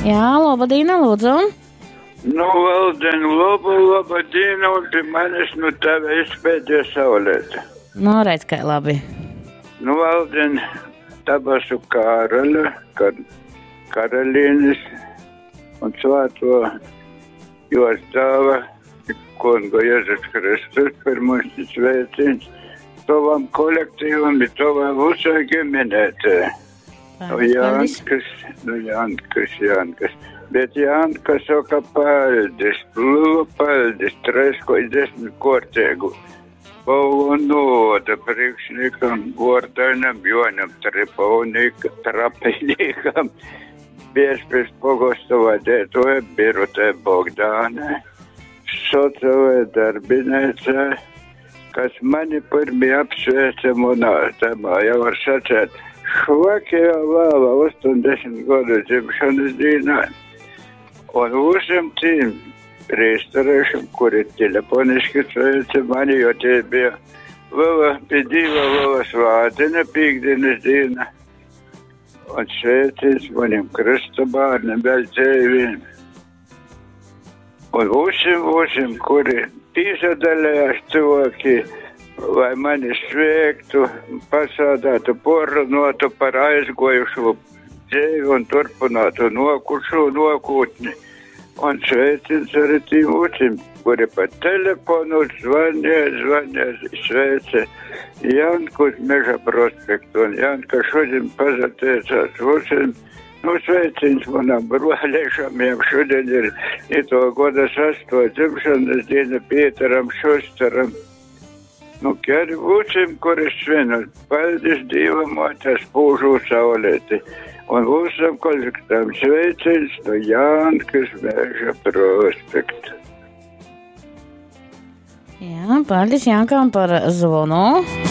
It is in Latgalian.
Jā, laba diena, lūdzu. Nu, Valden, laba, laba diena, un pie manis nu tava izpēdē saulēta. Nu, redz, kā labi. Nu, Valden, tabasu Kāraļa, kar, karalienes un svāto jos dāva kungu Jēzus Kristus pirmais sveiciens tavam kolektīvam, i tavai visai ģimenētē. Nu, Jankas, nu, Jankas, Jankas. Bet Janka saka paldies, lielu paldies, tresko desmit kortēgu. Paulo noda priekšniekam, Gordainam, Jonam Tripovnikam, Trapinīkam, Biezpils pogosta vadētoja Birutē Bogdāne, sociālajai darbiniecei, kas mani pirmie apsveica manā temā, jau var sacēt, švakajā vēlā 80 gadu dzimšanas dienā. Un visiem tiem priesterešiem, kuri telefoniski sveica mani, jo tie bija liela, pie Dieva liela svētdiena, pīkdienas diena. Un sveiciens maniem Krista bērniem vēl dzīviem. Un visiem, visiem, kuri pīsadalījās cilvēki, lai mani sveiktu, pasādātu, porunātu par aizgojušo dzīvi un turpinātu nokušo nokūtni. Un sveiciens arī tiem visiem, kuri pa telefonu zvanīja, zvanīja, sveica Janku uz Meža prospektu. Un Janka šodien pazateicās visiem. Nu, sveiciens manam broliešam, jām šodien ir ito goda sasto dzimšanas diena Pieteram Šusteram. Nu, ker visiem, kuri svin, paldies Dievam, tas spūžu saulēti. Un visam kolektīvam sveiciens no Jankas Meža prospekta. Jā, paldies Jankam par zvanu.